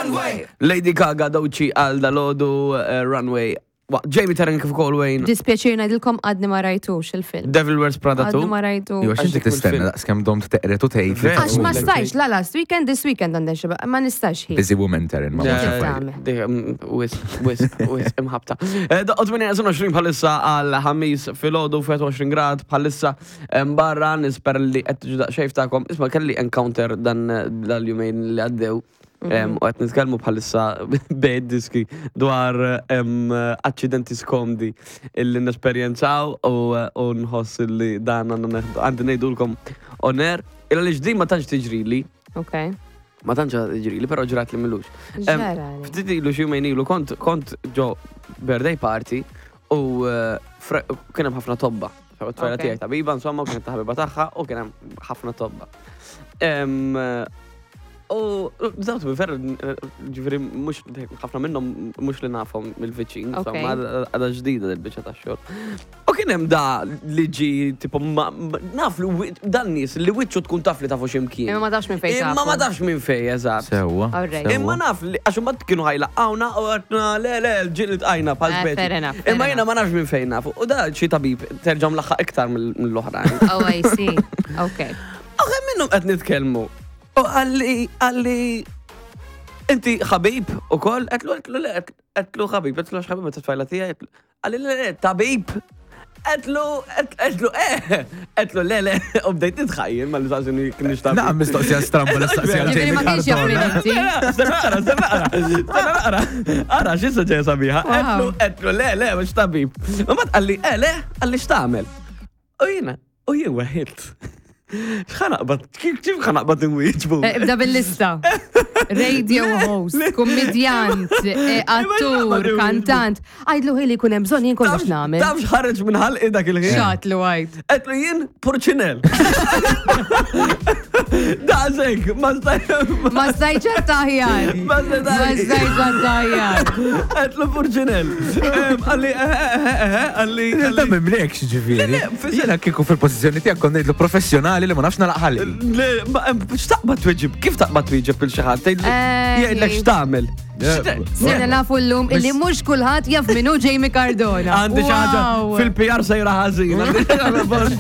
Runway. Lady Gaga Doċi għal dalodu eh, Runway. Jamie Taryn kif ukoll Wayne. Dispjaċir ngħidilkom għadni ma rajtux il-film. Devil Wears Prada Għadni 2. ma rajtux. Iwa, x'inti dik tistenna mill-film. daqs kemm domt teqret u tgħid. li Vera. Għax ma tqum. stajx, la last weekend, this weekend għandek xeba, ma nistax ħin. Busy woman Taryn, ma Yeah. nafx affarijiet. tagħmel. Wis, wis, wis, imħabta. Eh, Daqqot 28 bħalissa għal ħamis filgħodu 21 grad bħalissa barra nisper li qed tiġu daqsxejn tagħkom. Isma' kelli encounter dan dal-jumejn li għaddew. U qed nitkellmu bħalissa bejn diski dwar aċċidenti skomdi illi nesperjenzaw u nħoss li dan għandna neħdu għandi ngħidulkom on air. Illa li ġdin ma tantx tiġrili, Ok. ma tantx tiġrili, però ġrat li milux. Ġara li. Ftit ilu xi jumejn ilu kont kont ġo birthday party u eh, kien hemm ħafna tobba. Tfajla tiegħi tabiba, insomma, u kienet ta' ħabiba tagħha u kien hemm ħafna tobba. U dawt bi vera, ġifieri mhux ħafna minnhom mhux li nafhom mill-viċin, insomma, għadha ġdida dil-biċċa tax-xogħol. U kien hemm da li ġi tipo naf li dan nies li wiċċu tkun taf li tafu x'imkien. Imma ma tafx minn fejn Imma ma tafu. tafx minn fejn, eżatt. Sewwa. Alright. sewwa. Imma naf li għax imbagħad kienu ħajlaqgħuna u għedna le le ġieli tqajna bħal Eh, speċi. fair enough, fair Imma jiena enough. ma nafx minn fejn nafu. U da xi tabib terġa' mlaħħaq iktar mill-oħrajn. Oh, I see. Ok. U kemm minnhom qed nitkellmu. U għalli għalli inti ħabib ukoll qedlu qedlu le qedlu ħabib, qedlu għax ħabib ta' tfajla tiegħi. Għalli le le tabib. Qedlu qedlu eh qedlu le le u bdejt nitħajjel ma li saqsini kienx tabib. Naqam mistoqsija stramba l-istaqsija Ġifieri ma kienx jaf min inti. Stenna naqra, stenna naqra, stenna naqra. Ara, x'issa ġejja sabiħa. Qedlu, qedlu, le, le, mhux tabib. U mbagħad qalli, eh, le, qalli x'tagħmel. U jiena, u jien weħilt. X'ħa naqbad, kif kif ħa naqbad inwieġbu? Eh, Ibda bil-lista. Radio host, kummedjant, eh, attur, kantant. Għajdlu ħili kun hemm bżonn jien kollox nagħmel. Taf x'ħareġ minn ħalqi dak il-ħin. Xatlu għajd. Qedlu jien purċinel. Daqshekk, ma staj. Ma stajċ taħjar. Ma Ma stajċ taħjar. Qedlu purċinel. Għalli, eh, eh, eh, eh, għalli. Da mimlekx ġifieri. Le, le, Jiena kieku fil-pożizzjoni tiegħek kont ngħidlu professjonali li ma nafx nalaq ħalqi. Le, ma, x'taqbad tweġib? Kif taqbad tweġib il xi ħadd? Eh, Jgħidlek x'tagħmel? Sena nafu l-lum illi mhux kulħadd jaf minu Jamie Cardona. Għandi xi ħaġa Wow. fil-PR sejra ħażin.